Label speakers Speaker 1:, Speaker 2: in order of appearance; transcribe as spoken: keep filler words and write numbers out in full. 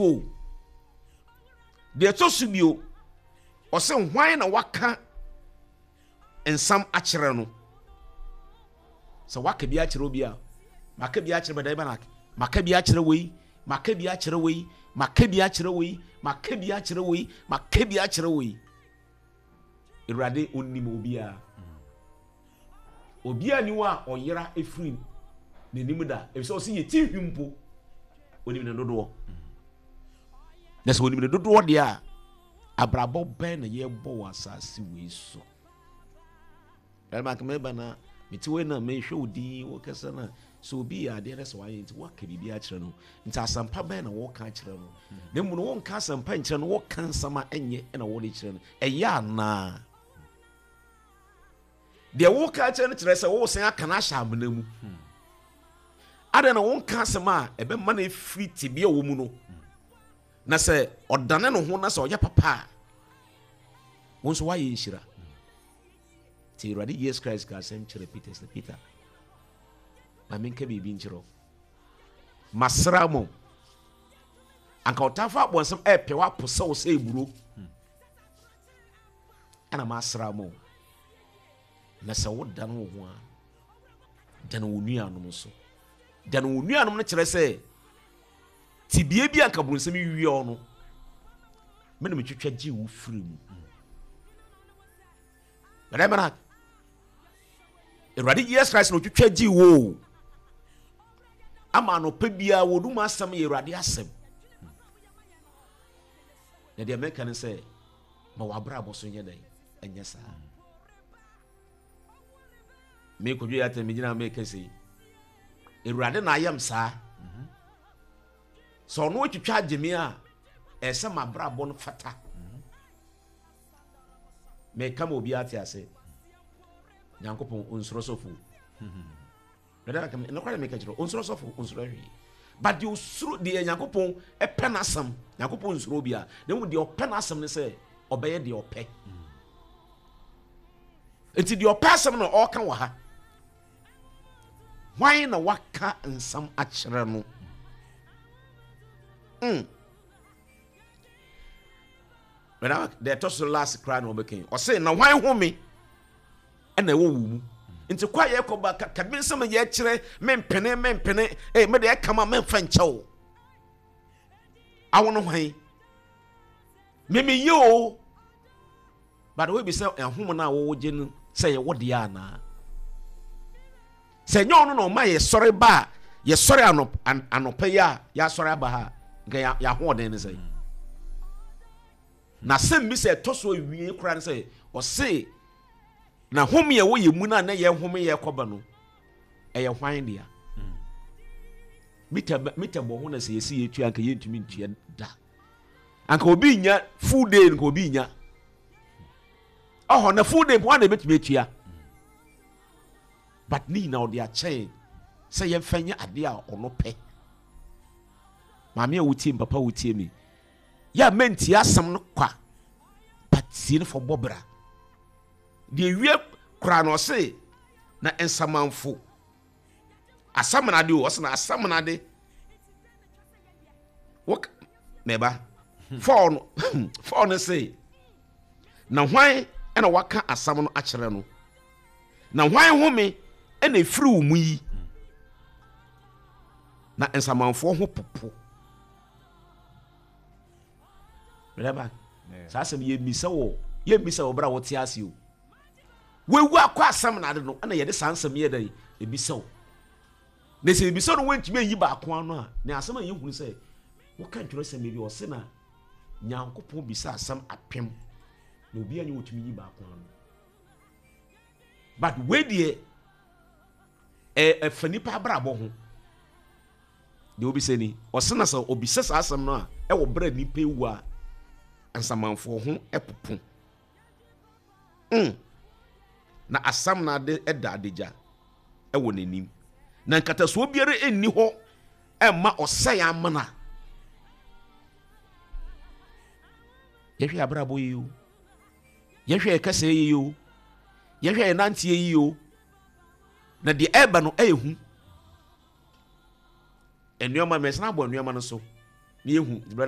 Speaker 1: O, deɛ ɛtɔ so bio, ɔsɛ hwan na waka nsam akyerɛ no? Sɛ waka bi akyerɛ obi a, maka bi akyerɛ bɛdɛ bɛnak, maka bi akyerɛ wei, maka bi akyerɛ wei, maka bi akyerɛ wei, maka bi akyerɛ wei, maka bi akyerɛ wei. Awurade onim obiara. Obiara ni hɔ a ɔyera efiri n'anim da, efisɛ ɔsɛ yɛ ti hwi mpo onim ne dodoɔ. Na sɛ onim ne dodoɔ deɛ a, abrabɔ bɛn na yɛbɔ wɔ asase wei so? Ɛma meba na mete wei na mehwɛ wo din wɔ kɛsɛ na sɛ obi yɛ adeɛ na sɛ wayɛ nti woaka biribi akyerɛ no, nti asɛmpa bɛn na wɔka akyerɛ no? Na mmom no, wonka asɛmpa nkyerɛ no, wɔka nsɛm a ɛnyɛ ɛna wɔde kyerɛ no. Ɛyɛ anaa deɛ woka akyerɛ no kyerɛ sɛ wosan aka no ahyɛ amena mu? Adɛn na wonka asɛm a ɛbɛma no ɛfiri tebea wɔ mu no, na sɛ ɔdane ne ho na sɛ ɔyɛ papa a, wo nso woayɛ nhyira? Nti Awurade Jesus Christ ka asɛm kyerɛ Peter sɛ, Peter, ma menka biribi nkyerɛ wo. Masra mo anka ɔtamfo abɔnsɛm ɛɛpɛ woapo sɛ wo sɛ eburo, ɛna masra mo, na sɛ wodane wo ho a, dane wo nuanom so. Dane wo nuanom no kyerɛ sɛ tibie bi anka bonsɛm wie no, me na metwitwa gye wo firi mu. Bɛdɛ Awurade Jesus Christ na otwitwa gye wo ama anɔpa biara wɔdum asɛm yɛ Awurade asɛm. Na deɛ mɛka ne sɛ, ma w'abrabɔ so nyɛ dɛn? Ɛnyɛ saa. Mekɔdwe yɛ atɛn megyina meka sɛ Awurade na ayɛm saa. Sɛ ɔno atwitwa agye me a, ɛsɛ m'abrabɔ no fata. Meka ma obiara te ase, Nyankopɔn onsoro sɔfo. Nokware meka kyerɛ, onsoro sɔfo, onsoro hwee. But deɛ osuro deɛ, Nyankopɔn ɛpɛ n'asɛm. Nyankopɔn nsuro obiara, na mmom deɛ ɔpɛ n'asɛm ne sɛ ɔbɛyɛ deɛ ɔpɛ. Nti deɛ ɔpɛ asɛm na ɔreka wɔ ha. Hwan na waka nsɛm akyerɛ no? mm. Deɛ ɛtɔ so last koraa na ɔbɛka, ɔse na hwan home ɛna ɛwɔ wo mu? Nti kɔ a yɛkɔ ba kabi nsɛm yɛkyerɛ, mempene mempene ee, mede ɛkama memfa nkyɛw awo no. Hwan memeyɛ o? But wo bi sɛ ɛhom no a wɔwɔ gye no sɛ yɛwɔ deɛ anaa sɛ nyɛ ɔno na ɔma yɛsɔre ba a, yɛsɔre anɔpɛ yi a, yɛasɔre aba ha, nka yɛahoɔden ne sɛ. Na asɛm bi sɛ ɛtɔ so awie koraa ne sɛ, ɔse na home a ɛwɔ yɛ mu no a na yɛn home yɛ kɔba no, ɛyɛ hwan dea? Mita mita bɔ ho na sɛ yɛsi yɛtua, anka yɛntumi ntua da. Anka obi nya full day, nka obi nya ɔhɔ na full day mpo na ebɛtumi atua. But ne nyinaa ɔde akyɛn sɛ yɛmfa nyɛ adeɛ a ɔno pɛ. Maame a wotie mi, papa a wotie mi, yɛ a mɛntie asɛm no kwa, but tie no fɔ bɔ bra. Deɛ wie koraa na ɔse na nsamanfo asamanade o, ɔse na asamanade wok mɛba fɔɔ no fɔɔ no se, na hwan ɛna waka asɛm no akyerɛ no? Na hwan home ɛna efiri wo mu yi? Na nsamanfoɔ ho popo. Mɛba saa asɛm yɛmmisa wɔ yɛmmisa wɔ berɛ a wɔte ase o. Wawu akɔ asɛm na ade no ɛna yɛde saa nsɛm yɛ dɛn ebisa wo. Na sɛ ebisa no, wɔntumi ayi baako ano a, na asɛm a yɛhunu sɛ woka ntwerɛsɛm bi, ɔse na Nyankopɔn bisa asɛm apem na obi anyɛ wɔtumi yi baako ano. But wei deɛ, ɛfa nipa abrabɔ ho. Deɛ obisa ni, ɔse na sɛ obisa saa asɛm no a, ɛwɔ berɛ a nipa ewu a, nsamanfoɔ ho ɛpopo mm. Na asam na ade ɛda adagya ɛwɔ n'anim, na nkatasoɔ biara nni hɔ ɛmma ɔsɛe amena. Yɛhwɛ abrabɔ yi o, yɛhwɛ yɛ kɛsɛɛ yi o, yɛhwɛ yɛ nanteɛ yi o, na deɛ ɛreba no ɛyɛ hu. Nneɛma mɛsena abɔ nneɛma no so. Ne yɛhu brother.